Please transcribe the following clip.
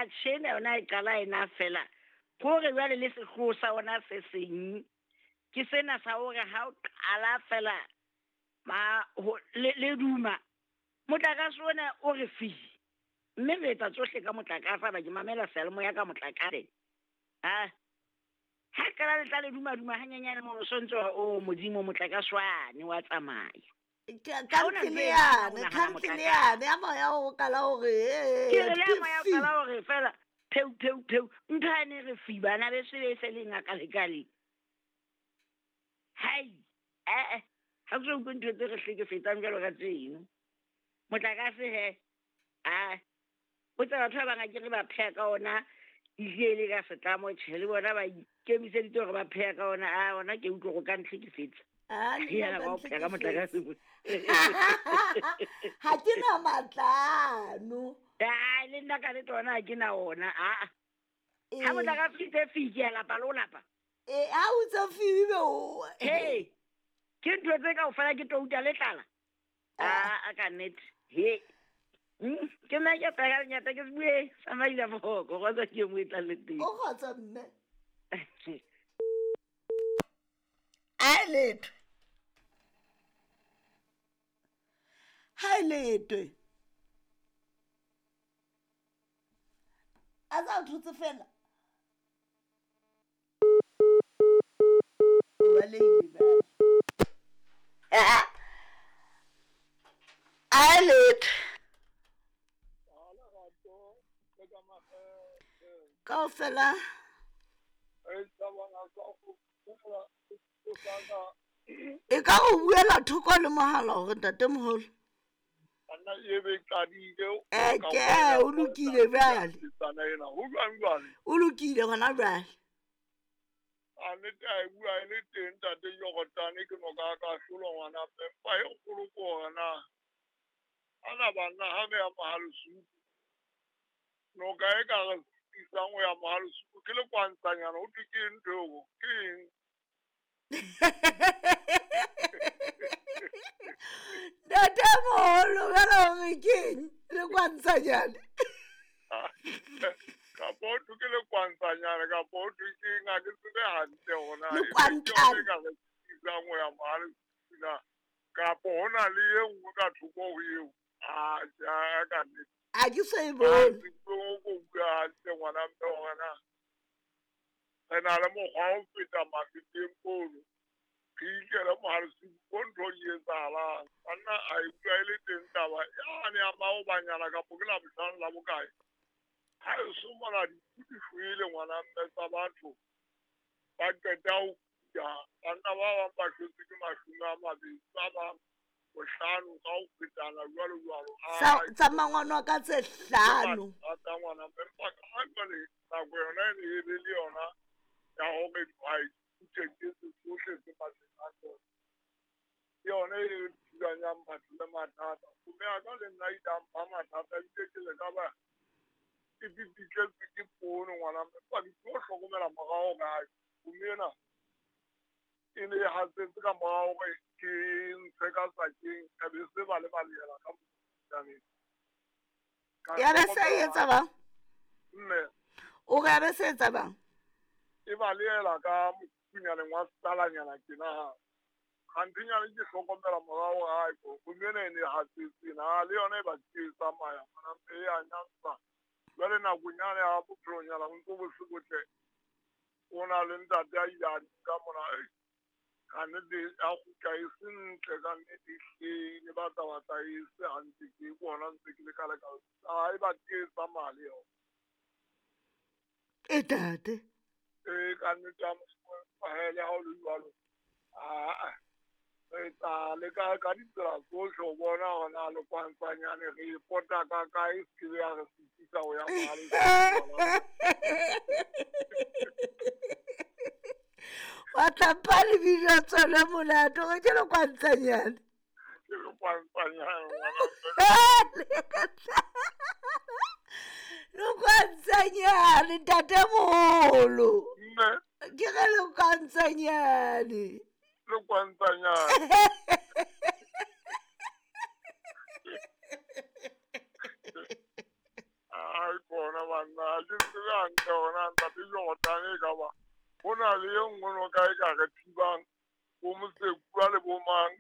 Atjhe, ena yona e qala ena fela. Hore jwale le sehloho sa ona se seng ke sena sa hore ha o qala fela ma le duma motlakase ona o re fi, mme re etsa tsohle ka motlakase, ba ke mamela seyalemoya ka motlakase. Ha ha qala le tla le duma duma hanyenyane mono, so ntse o modimo motlakase wane wa tsamaya. Khantleleane, khantleleane ya moya o kala hore ke re le moya o kala hore fela peu peu peu ntho ane re fi bana be se be se le ngaka le kale. Hai eh ha ke utlwe ntho tse re hlekefetsang jwalo ka tseno. Motlakase he a o tsa batho ba bang a ke re ba pheha ka ona ehlile ka setlamo, tjhe le bona ba ikemiseditse hore ba pheha ka ona, a ona ke utlwe go ka ntlhekefetsa. Ha ke na matlano. Ai le nna ka le tsona ha ke na ona. A ha motlakase itse fi ke a lapa le o lapa. Ha o tse fi be o. Hey, ke ntho tse kaofela ke touta le tlala. A ka nnete. He. Ke nna ke tla nyata ke bue sa maila foko go tsa ke mo etla le teng. O kgotsa mme. A letho. Ha letwe. A tsa thotse fela. O balehile bjale. A letho. Kaofela. E ka go buela thoko le mohala hore ntatemoholo. Ke o lokile bjale. O lokile hona jwale. A nnete a e bua e le teng ntate Jorotane ke noka ka hlolwa ngwana mme empa e kgolo ke hore na ana banna ha re ya Mohalesuku noka e ka re isang ho ya Mohalesuku ke le kwantsanyana ho thwe ke ntho eo ke eng? Ntatemoholo jwale hore ke eng le kwantsanyane? Kapa ho thwe ke le kwantsanyane kapa ho thwe ke eng, ha ke tsebe hantle hore na Lekwantane. e ka re isang ho ya Mohalesuku na kapa ho na le e nngwe ka thoko ho eo. A ka nnete. A ke so e bone. Ke ko bua hantle ngwana mme hore na re na le mokgwa wa ho feta mafeteng mono. Re ikele Mohalesuku ko ntho e etsahalang. Banna a e bua e le teng taba yane ya maobanyana kapo ke Labohlano la bokae. Ha e so mona dinku di shwele ngwana mme tsa batho. Ba qeta ho kuta. Banna ba bang ba shwetswe ke 20, ba bang 50 ka ho fetana jwalo jwalo. Tsa mangwana ka tse 5. Tsa ngwana mme empa ka jwale nako yona e ne e le le yona ya hore dihwai di kute tsohle tse matleng a tsona. Ke yona e thulanyang batho le mathata. Mme a ka le nna ile a mpha mathata ebile ke le ka ba ke pipitletswe ke poone ngwana mme empa ke tlo hlokomela morao kae. Mme ena e ne e hatsetse ka morao hore ke ntshe ka sakeng, ka be se ba le balehela ka mokutlaneng. Ya be se etsa bang? Mme. O re ya be se etsa bang? E balehela ka mokunyaneng wa setalanyana tjena ha. Kgantenyana ke hlokomela morao hae ko mme ena e ne e hatsetse na le yona e ba ke e tsamaya ngwana mme e a nyantsha. Jwale nakong yane ya bophelonyana ho ntso bo se botle. O na le ntate a ile a nka mona ka nnete a kgutla e se ntle ka nnete ehlile batla batla e se hantle ke bona ntse ke le ka leka. A e ba ke e tsamaya le yona. E tate. E ka nnete ya Modimo le ha o le jwalo. Aa re tla leka ka ditsela tsohle ho bona hore na le kwantsanyane re e pota ka kae, se ke ya re sitisa ho ya Mohalesuku. Wa tlampa lebitso tsona molato hore ke lekwantsanyane. Ke lekwantsanyane ngwana. Lekwantsanyane ntatemoholo. Mme. Ke re lekwantsanyane. Lekwantsanyane. Ai bona banna ha ke tsebe hantle hore na ntate Jordan e ka ba ho na le e nngwe noka e ka re thibang bo Mosekua le bo mang.